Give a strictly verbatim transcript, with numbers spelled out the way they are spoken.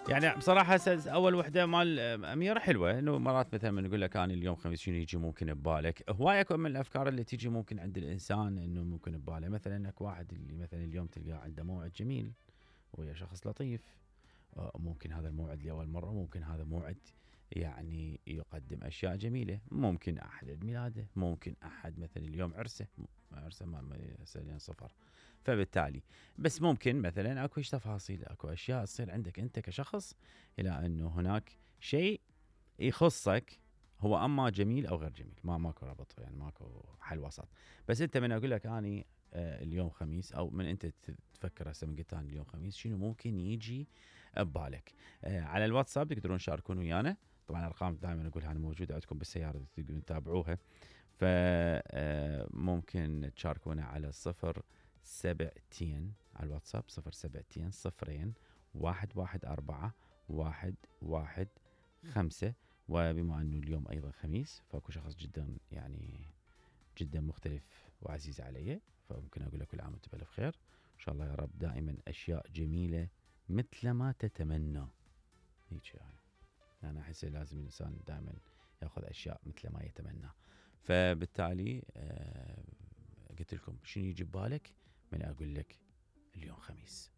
يعني بصراحة أول وحدة مال أميرة حلوة، إنه مرات مثلا من نقول لك أنا اليوم خميس شنو يجي ممكن ببالك، هواية أكو من الأفكار اللي تيجي ممكن عند الإنسان إنه ممكن بباله، مثلا إنك واحد اللي مثلا اليوم تلقاه عنده موعد جميل ويا شخص لطيف، ممكن هذا الموعد لأول مرة، ممكن هذا موعد يعني يقدم أشياء جميلة، ممكن أحد عيد ميلاده، ممكن أحد مثلا اليوم عرسه عرسه ما يسألين صفر، فبالتالي بس ممكن مثلا اكو تفاصيل، اكو اشياء تصير عندك انت كشخص الى انه هناك شيء يخصك، هو اما جميل او غير جميل، ما ماكو ربط، يعني ماكو حل وسط. بس انت من اقول لك اني آه اليوم خميس، او من انت تفكر هسه من قلت انا اليوم خميس شنو ممكن يجي ببالك. آه على الواتساب تقدرون تشاركون ويانا، طبعا الارقام دائما اقولها انا موجوده عندكم بالسياره تقدرون تتابعوها، فممكن تشاركونا على الصفر سبعتين على الواتساب، صفر سبعتين صفرين واحد واحد أربعة واحد واحد خمسة. وبما أنه اليوم أيضا خميس، فأكو شخص جدا يعني جدا مختلف وعزيز علي، فممكن أقول لك كل عام وأنت بألف خير، إن شاء الله يا رب دائما أشياء جميلة مثل ما تتمنى. هيك يعني أنا أحس لازم الإنسان دائما يأخذ أشياء مثل ما يتمنى. فبالتالي آه قلت لكم شنو يجي ببالك من أقول لك اليوم خميس.